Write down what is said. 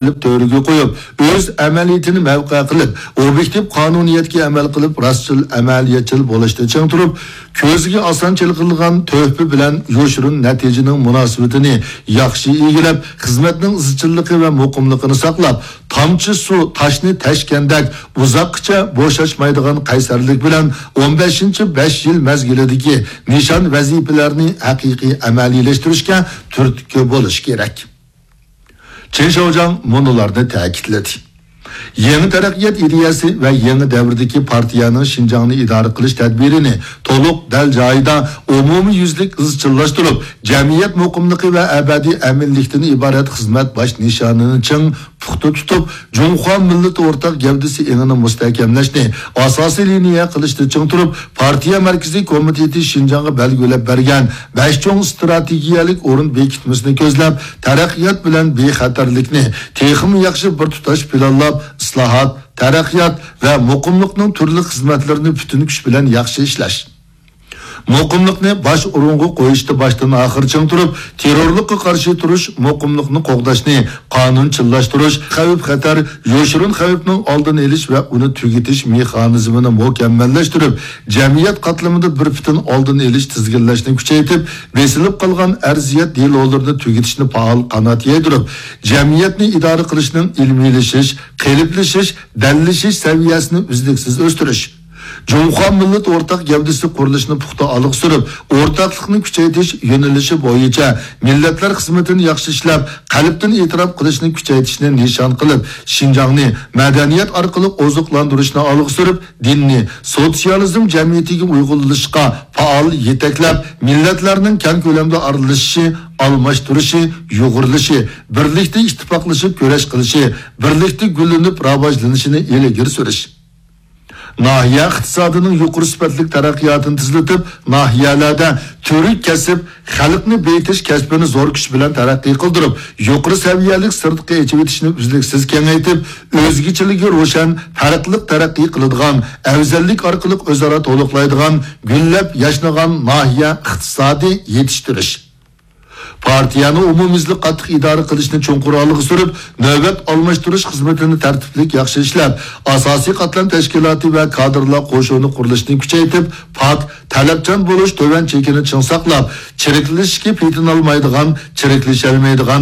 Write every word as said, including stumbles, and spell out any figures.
قىلىپ تۆرىگە قويۇپ، ئۆز ئەمەلىيىتىنى مەۋقە قىلىپ، ئوبيېكتىپ قانۇنىيەتكە ئەمەل قىلىپ، راستچىل، ئەمەلىيەتچىل بولۇشتا چىڭ تۇرۇپ، كۆزگە ئاسان چېلىقىدىغان تۆھپە بىلەن يوشۇرۇن نەتىجىنىڭ مۇناسىۋىتىنى ياخشى ئىگىلەپ، خىزمەتنىڭ ئىزچىللىقى ۋە مۇقىملىقىنى ساقلاپ، تامچە سۇ تاشنى تەشكەندەك ئۇزاققىچە بوشاشمايدىغان قەيسەرلىك بىلەن ئون بەشىنچى بەش يىل مەزگىلىدىكى نىشان ۋەزىپىلەرنى ھەقىقىي ئەمەلىيلەشتۈرۈشكە تۈرتكە بولۇش كېرەك. چېن شياۋجياڭ مۇنۇلارنى تەكىتلىدى: يېڭى تەرەققىيات ئىدىيەسى ۋە يېڭى دەۋردىكى پارتىيەنىڭ شىنجاڭنى ئىدارە قىلىش تەدبىرىنى تولۇق، دەل جايىدا، ئومۇميۈزلۈك ئىزچىللاشتۇرۇپ، جەمئىيەت مۇقىملىقى ۋە ئەبەدىي ئەمىنلىكتىن ئىبارەت خىزمەت باش نىشانىنى چىڭ پۇختا تۇتۇپ، جۇڭخۇا مىللىتى ئورتاق گەۋدىسى ئېڭىنى مۇستەھكەملەشنى ئاساسىي لىنىيە قىلىشتا چىڭ تۇرۇپ، پارتىيە مەركىزىي كومىتېتى شىنجاڭغا بەلگىلەپ بەرگەن بەش چوڭ ئىستراتېگىيەلىك ئورۇن بېكىتمىسىنى كۆزلەپ، تەرەققىيات بىلەن بىخەتەرلىكنى تېخىمۇ ياخشى بىر تۇتاش پىلانلاپ، ئىسلاھات، تەرەققىيات ۋە مۇقىملىقنىڭ تۈرلۈك خىزمەتلىرىنى پۈتۈن كۈچ بىلەن ياخشى ئىشلەش. مۇقىملىقنى باش ئورۇنغا قويۇشتا باشتىن ئاخىر چىڭ تۇرۇپ، تېررورلۇققا قارشى تۇرۇش، مۇقىملىقنى قوغداشنى قانۇنچىللاشتۇرۇش، خەۋپ-خەتەر، يوشۇرۇن خەۋپنىڭ ئالدىنى ئېلىش ۋە ئۇنى تۈگىتىش مېخانىزمىنى مۇكەممەللەشتۈرۈپ، جەمئىيەت قاتلىمىدا بىر پۈتۈن ئالدىنى ئېلىش، تىزگىنلەشنى كۈچەيتىپ، بېسىلىپ قالغان ئەرزىيەت دېلولىرىنى تۈگىتىشنى پائال قانات يايدۇرۇپ، جەمئىيەتنى ئىدارە قىلىشنىڭ ئىلمىيلىشىش، قېلىپلىشىش، دەللىشىش سەۋىيەسىنى ئۈزلۈكسىز ئۆستۈرۈش. جۇڭخۇا مىللىتى ئورتاق گەۋدىسى قۇرۇلۇشىنى پۇختا ئالغا سۈرۈپ، ئورتاقلىقنى كۈچەيتىش يۆنىلىشى بويىچە مىللەتلەر خىزمىتىنى ياخشى ئىشلەپ، قەلبتىن ئېتىراپ قىلىشنى كۈچەيتىشنى نىشان قىلىپ، شىنجاڭنى مەدەنىيەت ئارقىلىق ئوزۇقلاندۇرۇشنى ئالغا سۈرۈپ، دىننى سوتسىيالىزم جەمئىيىتىگە ئۇيغۇنلىشىشقا پائال يېتەكلەپ، مىللەتلەرنىڭ كەڭ كۆلەمدە ئارىلىشىشى، ئالماشتۇرۇشى، يۇغۇرۇلۇشى، بىرلىكتە ئىتتىپاقلىشىپ كۈرەش قىلىشى، بىرلىكتە گۈللىنىپ راۋاجلىنىشىنى ئىلگىرى سۈرۈش. ناھىيە ئىقتىسادىنىڭ يۇقىرى سۈپەتلىك تەرەققىياتىنى تېزلىتىپ، ناھىيەلەردە تۈرلۈك كەسىپ، خەلقنى بېيىتىش كەسپىنى زور كۈچ بىلەن تەرەققىي قىلدۇرۇپ، يۇقىرى سەۋىيەلىك سىرتقى ئېچىۋېتىشنى ئۈزلۈكسىز كېڭەيتىپ، ئۆزگىچىلىكى روشەن، پەرقلىق تەرەققىي قىلىدىغان، ئەۋزەللىك ئارقىلىق ئۆزئارا تولۇقلايدىغان، گۈللەپ ياشنىغان ناھىيە ئىقتىسادى يېتىشتۈرۈش. پارتىيەنى ئومۇميۈزلۈك قاتتىق ئىدارە قىلىشنى چوڭقۇر ئالغا سۈرۈپ، نۆۋەت ئالماشتۇرۇش خىزمىتىنى تەرتىپلىك ياخشى ئىشلەپ، ئاساسىي قاتلام تەشكىلاتى ۋە كادىرلار قوشۇنى قۇرۇلۇشىنى كۈچەيتىپ، پاك، تەلەپچان بولۇش تۆۋەن چېكىنى چىڭ ساقلاپ، چىرىكلىشىشكە پېتىنالمايدىغان، چىرىكلىشەلمەيدىغان،